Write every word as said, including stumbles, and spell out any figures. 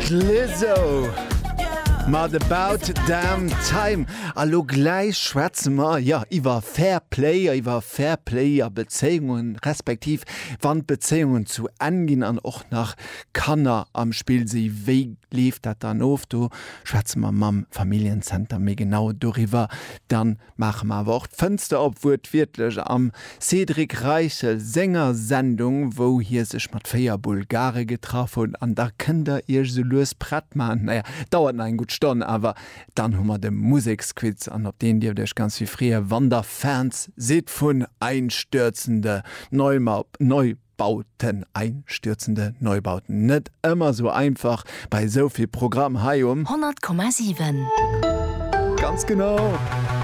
D'Lizzo mat About Damn Time. A lo gläich schwätze mer, jo, iwwer Fair Play, iwwer Fair Play a Bezéiungen, respektiv wann d'Bezéiungen zu Enn ginn an och nach Kanner am Spill si, wéi leeft dat dann of? Do schwätze mer mam Familljencenter méi genau doriwwer. Dann maache mer awer och d'Fënster op, wuertwiertlech am Cédric Reichel senger Sendung, wou hie sech mat véier Bulgare getraff huet. An da kënnt der iech esou lues prett maachen. Naja, dauert nach eng gutt Stonn, awer dann hu mer de Museksquiz an op deen dierft iech ganz vill freeë wann der Fans sidd vun Einstürzende Neubauten. Einstürzende Neubauten, net ëmmer esou einfach bei esou vill Programm hei um. honnert Komma siwen. Ganz genau!